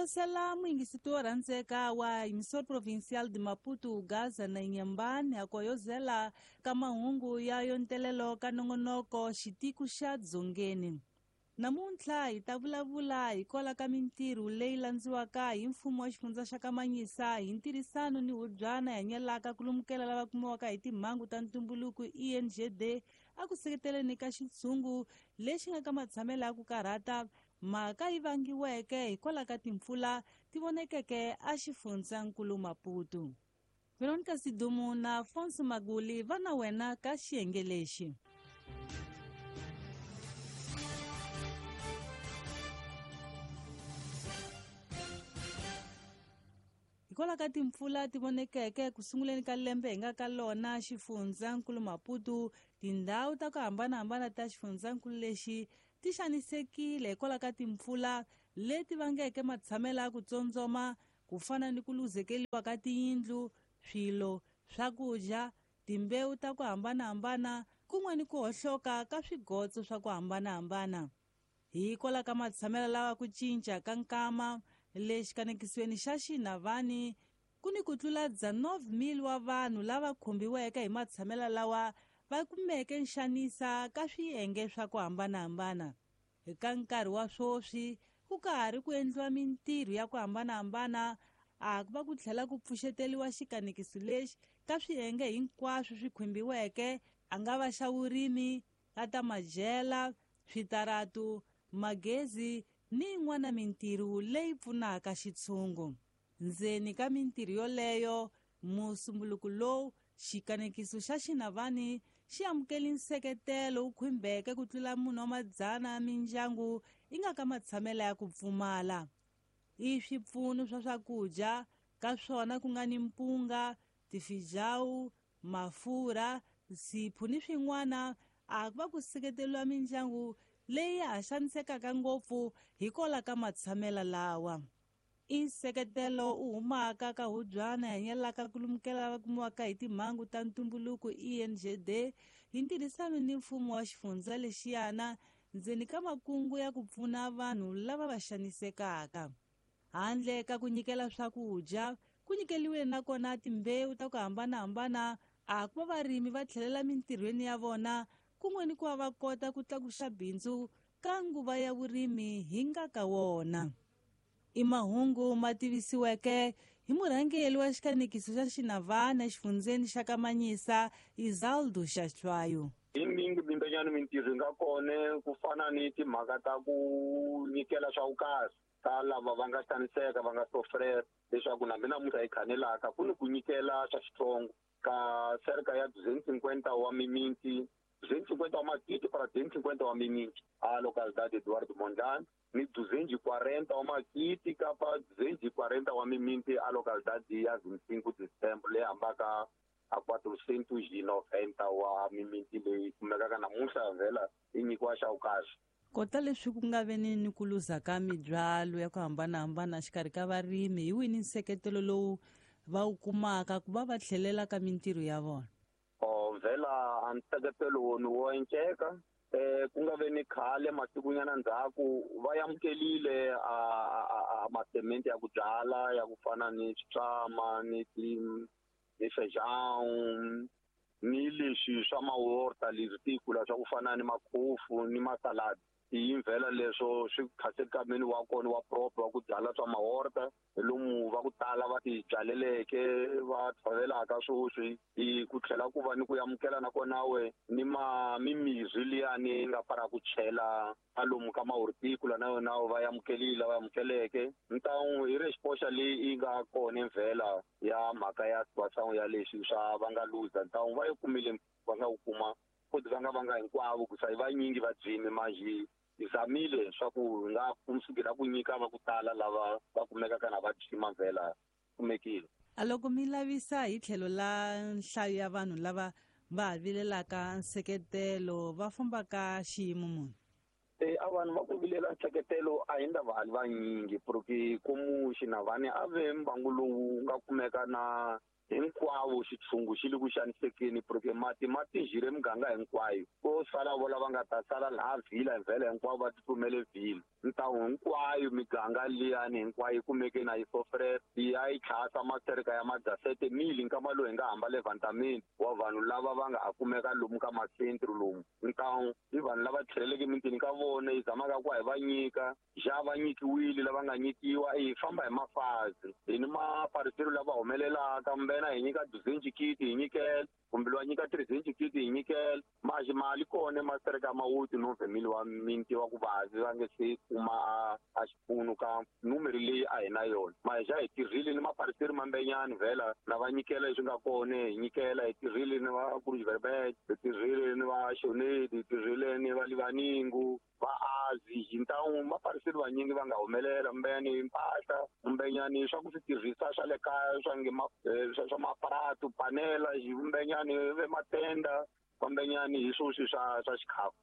Holosela muyingisiti wo rhandzeka wa Emissor Provincial de Maputo, Gaza na Inhambane a koyozela ka mahungu ya yontelelo ka nongonoko xitiko xa Dzongeni. Namuntlha hi ta vulavula hikwalaho ka mintirho leyi landziwaka hi mfumo wa xifundza xa Kamanyisa hi ntirhisano ni hubyana hanyelaka ku lumukela lava kumiwaka hi timhangu ta ntumbuluko ENGD a ku seketeleni ka xitshungu lexi nga ka matshamelo ya ku karhata mhaka yi vangiweke hikwalaho ka timpfula ti vonekeke a xifundzankulu Maputo. Veronica Sidumu na Afonso Maguli va na wena ka xiyenge lexi. Hikwalaho ka timpfula ti vonekeke ku sunguleni ka lembe hi nga ka lona xifundzankulu Maputo, tindhawu ta ku hambanahambana ta xifundzankulu lexi ti xanisekile hikwalaho ka timpfula leti vangeke matshamelo ya ku tsondzoma ku fana ni ku luzekeriwa ka tiyindlu, swilo, swakudya, timbewu ta ku hambanahambana kun'we ni ku hohloka ka swigotso swa ku hambanahambana. Hikwalaho ka matshamelo lawa ku cinca ka nkama le xikanekisweni xa Xinavani ku ni ku tlula 9,000 wa vanhu lava khumbiweke hi matshamelo lawa va kumeke nxanisa ka swiyenge swa ku hambanahambana. Eka nkarhi wa swoswi ku ka ha ri ku endliwa mintirho ya ku hambanahambana a ku va ku tlhela ku pfuxeteliwa xikanekiso lexi ka swiyenge hinkwaswo swi khumbiweke, a nga va xa vurimi, ta ta madyela, switaratu, magezi ni yin'wana mintirho leyi pfunaka xitshungu. Ndzeni ka mintirho yoleyo, musumbuluko lowu xikanekiso xa Xinavani xi amukele nseketelo wu khumbeke ku tlula munhu wa madzana ya mindyangu yi nga ka matshamelo ya ku pfumala. I swipfuno swa swakudya ka swona ku nga ni mpunga, tifijawu, mafurha, nsipho ni swin'wana a ku va ku seketeriwa mindyangu leyi ya ha xanisekaka ngopfu hikwalaho ka matshamelo lawa. I nseketelo u humaka ka hubyana hanyelaka ku lumukela lava kumiwaka hi timhangu ta ntumbuluko ENGD hi ntirhisano ni mfumo wa xifundza lexiyana ndzeni ka makungu ya ku pfuna vanhu lava va xanisekaka. Handle ka ku nyikela swakudya, ku nyikeliwe nakona timbewu ta ku hambanahambana a ku va varimi va tlhelela mintirhweni ya vona kun'we ni ku va va kota ku tlakusa bindzu ka nguva ya vurimi hi nga ka wona. I mahungu ma tivisiweke hi murhangeri wa xikanekiso xa Xinavana exifundzeni xa Kamanyisa, Isaldo Xahlwayo. Hi mingi bindanyana mintirho yi nga kona ku fana ni timhaka ta ku nyikela swa vukahle ka lava va nga xaniseka va nga sofrera leswaku na mina namuntlha hi khanelaka ku ni ku nyikela swa xitsongo ka cerca ya 250 wa miminti 250 wa magidi para 250 wa miminti a localidade Eduardo Mondlane ni 240 wa magidi kapa 240 wa miminti a localidade ya 25 de Setembro leyi hambaka a 490 wa miminti leyi kumekaka namuntlha vhela yi nyikiwa xa vukahle. Kota leswi ku nga ve ni ku luza ka mibyalo ya ku hambanahambana xikarhi ka varimi, hi wini nseketelo lowu va wu kumaka ku va va tlhelela ka mintirho ya vona? Vhela a nseketelo wona wo enceka ku nga ve ni khale masikunyana ndzhaku va amukelile a masemente ya ku byala ya ku fana ni switlama ni ti ni feijão ni leswi swa maworta leswi ti kula swa ku fana ni makhofu ni masaladi. Yimvela leswo swi khasekameni wa kona wa proper wa ku byala swa maworta hi lomu va ku tala va ti byaleleke va tshovelaka swoswi hi ku tlhela ku va ni ku amukela na kona we ni ma mimirhi liyani yi nga para ku chela a lomu ka mahortikula na yona va amukelile va amukeleke. Ntangu hi re xipoxa leyi yi nga kona mvela ya mhaka ya situação ya leswi swa va nga luza ntangu va yi kumile va nga wu kuma futhi va nga vanga hinkwavo ku sa vanyingi va dzimi manjhe hi zamile swa ku hi nga kumsukela ku nyika va ku tala lava va kumekaka na va dzima mvela kumekile. A loko mi lavisa hi tlhelo la nhlayo ya vanhu lava va ha vilelaka nseketelo va fambaka xiyimo muni? A vanhu va ku vilela nseketelo a hi ndava a li vanyingi porque komu Xinavane a ve mbangu lowu nga kumeka na hinkwavo xitshungu xi le ku xanisekeni porque mati ma tinjhile muganga hinkwayo ko sala vo lava nga ta sala laha vhila vhele hinkwavo va tsutsumele vhila ntawu hinkwayo miganga liyani hinkwayo yi kumeke na yi sofre ya yi tlhasa masereka ya madzasete mili nkama lowu hi nga hamba levantameni wa vanhu lava va nga ha kumeka lomu ka masentru lomu ntawu i vanhu lava tlheleleke emitini ka vona yi zamaka ku hi va nyika ja va nyikiwile lava nga nyikiwa hi famba hi mafazi hi ni mapariselo lava humelelaka mbena hi nyika duzenji kiti hi nyikela kumbe lowa nyika trizenji kiti hi nyikela maxi mali kona masereka mawuti no vhemili wa minti wa ku vavi va nge se kuma a xipfuno ka numeri leyi a hi na yona maja hi tirhile ni mapariseri mambenyani vhela lava nyikela leswi nga kona hi nyikela hi tirhile ni va Kurujiverbet hi tirhile ni va Shonedi hi tirhile ni va Livaningu va Azi hi ntawu mapariseri vanyingi va nga humelela mbenyani mpahla mbenyani swa ku swi tirhisa swa le kaya swa nge swa maparatu panela mbenyani ve matenda mbenyani hi swoswi swa xikhafu.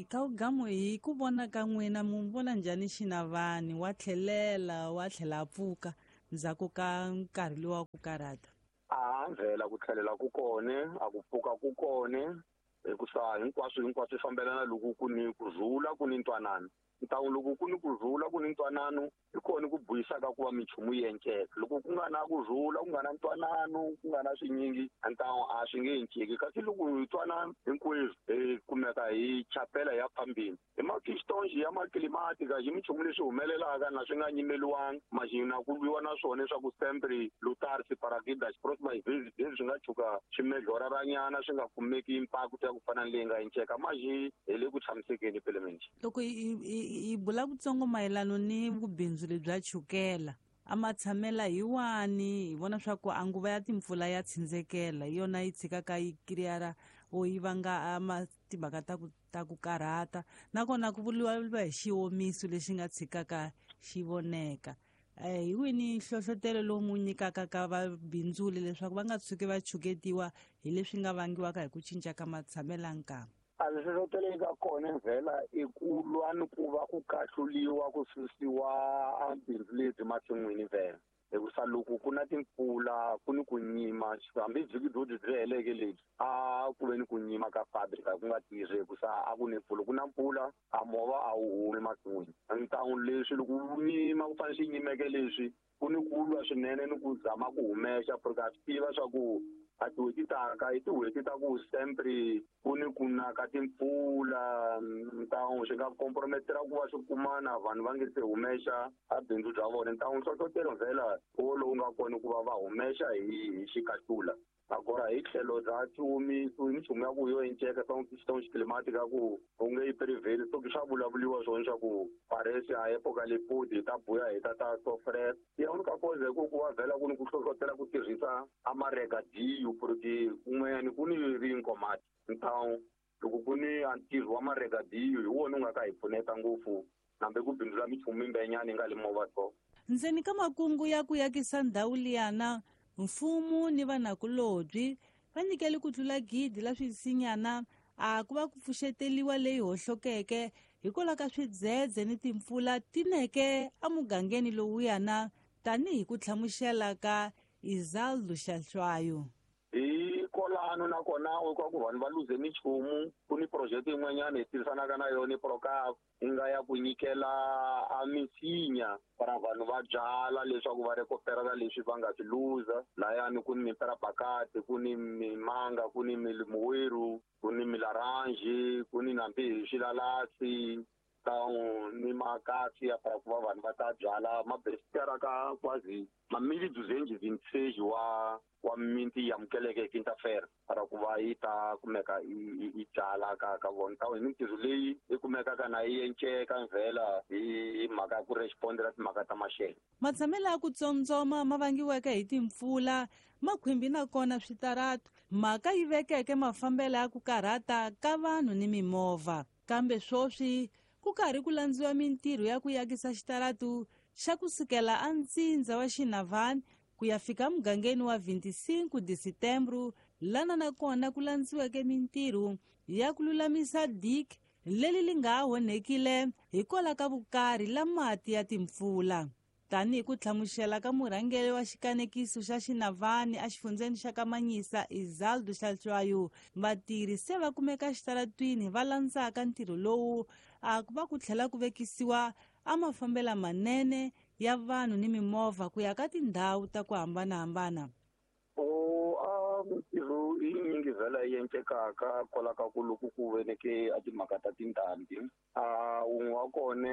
Ka gamu hi ku vona ka n'wina mu vona njhani Xinavani wa tlhelela wa tlhela a pfuka ndzhaku ka nkarhi lowu wa ku karhata? A vhela ku tlhelela ku kone a ku pfuka ku kone hikusa hinkwaswo swi fambelana loko ku ni ku rhula ku ni ntwanano ntawu loko ku ni ku rhula ku ni ntwanano hi kona ku buyisaka ku va minchumu yi enceka loko ku nga na ku rhula ku nga na ntwanano ku nga na swinyingi ntawu a swi nge enceki kasi loko hi twanana hinkwerhu hi kumeka hi chapela ya phambeni hi makistonji ya maklimatika hi minchumu leswi humelelaka na swi nga nyimeliwanga maxina ku lwiwa na swona leswaku sempre lutar separakida xiprosima hi swi nga tshuka swi medloraranyana swi nga kumeki impact ya ku fana ni leyi nga enceka maxi hi le ku tshamisekeni pelemende. Loko hi bula kutsongo mayelano ni vubindzu lebya chukela a matshamela hi wani hi vona swa ku a nguva ya timpfula ya tsindzekela hi yona yi tshikaka yi kiriyara o yi vanga timhaka ta ku karhata nakona ku vuriwa hi xiwomiso lexi nga tshikaka xi voneka. Hi wini nhlohlotelo lowu mu nyikaka ka vabindzuli leswaku va nga tshuki va chuketiwa hi leswi nga vangiwaka hi ku cinca ka matshamela nkama? A nhlohlotelo yi nga kona vhela i ku lwa ni ku va ku kahluliwa ku susiwa a bindzu lebyi masin'wini vhela hikusa loko ku na timpfula ku ni ku nyima hambi vhiki byo byi heleke lebyi a ku ve ni ku nyima ka fabrika ku nga tirhi hikusa a ku ni mpfula ku na mpfula a movha a wu humi masin'wini ntawu leswi loko wu nyima ku fanele swi nyimeke leswi ku ni ku lwa swinene ni ku zama ku humesa porque a swi tiva swa ku a tin'hweti taka i tin'hweti ta ku sempre ku ni ku na ka timpfula ntawu swi nga comprometera ku va swi kumana vanhu va nge se humesa a bindzu bya vona ntawu nhlohlotelo vhela wo lowu nga kona ku va va humesa hi xikahlula agora hi tlhelo bya xiwomiso i minchumu ya ku yo enceka swa xiklimatika ku u nge yi preveli so swa vulavuliwa swona swa ku paresi a epoka lepudi hi ta buya hi ta ta sofre ya unika koze ku ku va vhela ku ni ku hlohlotela ku tirhisa a maregadiyo porque kun'wanyani ku ni rinkomati ntawu loko ku ni a ntirho wa maregadiyo hi wona u nga ka hi pfuneta ngopfu nambe ku bindzula minchumu mimbenyani yi nga le movha so. Ndzeni ka makungu ya ku yakisa ndhawu liyana mfumo ni vanakulobyi va nyikele ku tlula 1,000 la swisinyana a ku va ku pfuxeteliwa leyi hohlokeke hikwalaho ka swidzedze ni timpfula tineke emugangeni lowuyana tanihi ku hlamusela ka Izaldo Xahlwayo. Hi kolano nakona u ku vanhu va luze minchumu ku ni project yin'wanyana hi tirhisanaka na yona Procap yi nga ya ku nyikela a misinya para vanhu va byala leswaku va rekoperela leswi va nga swi luza layani ku ni miperabakati ku ni mimanga ku ni mimuweru ku ni milaranji ku ni nambi hi swilalasi ntawu ni makasi ya para ku va vanhu va ta byala mabesitara ka kwazi mamili duzenji vintage wa minti yi amukeleke hi Quinta-feira para ku va yi ta kumeka yi byala ka vona ntawu hi mintirho leyi yi kumekaka na yi enceka vhela hi mhaka ya ku respondela timhaka ta maxelo. Matshamelo ya ku tsondzoma ma vangiweke hi timpfula makhwimbi nakona switaratu mhaka yi vekeke mafambelo ya ku karhata ka vanhu ni mimovha kambe swoswi ku karhi ku landziwa mintirho ya ku yakisa xitaratu xa kusukela antsindza wa Xinavani ku ya fika mugangeni wa 25 de Setembro lana nakona ku landziweke mintirho ya ku lulamisa dik Leli li nga onhekile hikwalaho ka vukarhi la mati ya timpfula. Tanihi ku hlamusela ka murhangeri wa xikanekiso xa Xinavani exifundzeni xa Kamanyisa Izaldo Hlatshwayo, vatirhi se va kumeka exitaratwini va landzaka ntirho lowu a ku va ku tlhela ku vekisiwa a mafambela manene ya vanhu ni mimovha ku ya ka tindhawu ta ku hambanahambana. Mintirho yi nyingi vhela yi encekaka kwala ka ku loko ku veneke a timhaka ta tindhambi. Wun'we wa kona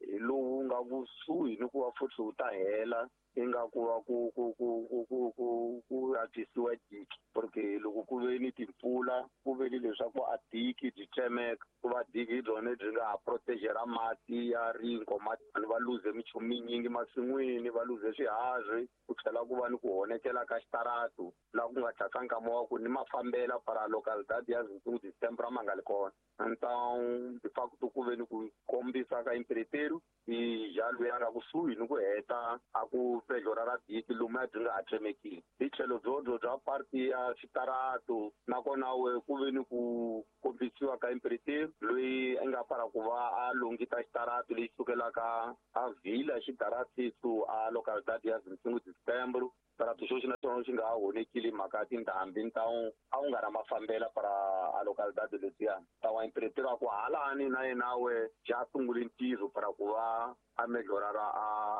hi lowu nga kusuhi ni ku va futhi wu ta hela ingaku va ku ku ku ku ku ku ku antswisiwa diki, porque loko ku ve ni timpfula ku ve ni leswaku a diki byi tsemeka, ku va diki hi byona byi nga ha protegera mati ya ringo, mati vanhu va luze minchumu minyingi masin'wini, va luze swiharhi, ku tlhela ku va ni ku honekela ka xitaratu laha ku nga tlhaka nkama wa ku ni mafambela para localidade ya 25 de Setembro a ma nga li kona. Então de facto ku ve ni ku kombisa ka imperetero i ja loyi a nga kusuhi ni ku heta a ku pedlora ra diki lomu a byi nga ha tsemekile. Hi tlhelo byobyo bya parti ya xitaratu nakona we ku ve ni ku kombisiwa ka imperetero loyi a nga para ku va a longita xitaratu lexi sukelaka a vila xitaratisu a localidade ya 25 de Setembro. Xitarato xo xi na xona xi nga ha honekile mhaka ya tindhambi, ntawu a wu nga na mafambela para a localidade letiya. Ntawu a imperetero a ku halani na yena we ja sungule ntirho para ku va a melhorara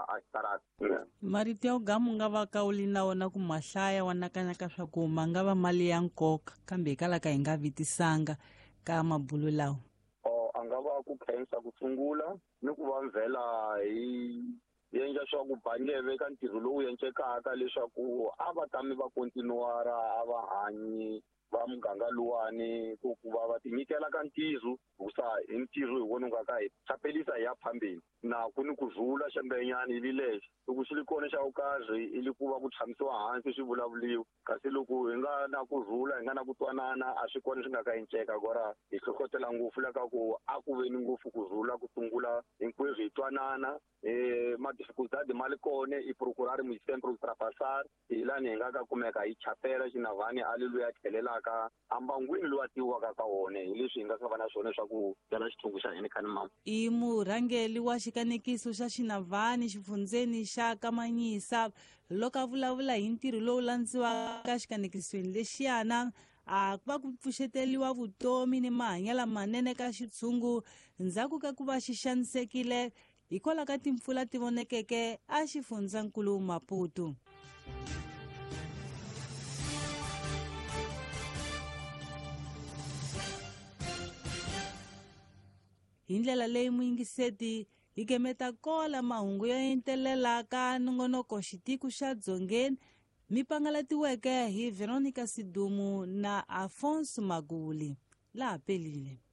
a xitarata. Marito ya ugamu nga va ka u li na wona ku mahlaya wa nakanyaka swa ku ma nga va mali ya nkoka, kambe hikwalaho ka hi nga vitisanga ka mabulu lawa. A nga va ku khensa ku sungula ni ku va mvela hi endla swa ku bangeve ka ntirho lowu encekaka leswaku a va tami va kontinuara a va hanyi va muganga luwani ku ku va va tinyikela ka ntirho, hikusa hi ntirho hi wona wu nga ka hi chapelisa hi ya phambeni. Na ku ni ku rhula xembenyana i li lexo loko xi li kona xa vukarhi i li ku va ku tshamisiwa hansi swi vulavuliwa, kasi loko hi nga na ku rhula hi nga na ku twanana a swi kona swi nga ka enceka. Kora hi hlohlotela ngopfu la ka ku a ku ve ni ngopfu ku rhula ku sungula hinkwerhu hi twanana. Ma dificultade ma li kona i procurar mu sempre ultrapassar hi lani hi nga ka kumeka hi chapela Xinavani a li loyi a tlhelelaka ambangwini loyi a tiviwaka ka wona, hi leswi hi nga ka va na swona swa ku byala xithungu xa hina khani mama. I murhangeri wa xikanekiso xa Xinavani xifundzeni xa Kamanyisa loko a vulavula hi ntirho lowu landziwaka xikanekisweni lexiyana a va ku pfuxeteliwa vutomi ni mahanyelo manene ka xitshungu ndzhaku ka ku va xi xanisekile hikwalaho ka timpfula ti vonekeke a xifundzankulu Maputo. Hi ndlela leyi muyingiseti hi gemeta kola mahungu yo entelela ka nongonoko xitiko xa Dzongeni mi pangalatiweke hi Veronica Sidumu na Afonso Maguli. Laha pelile.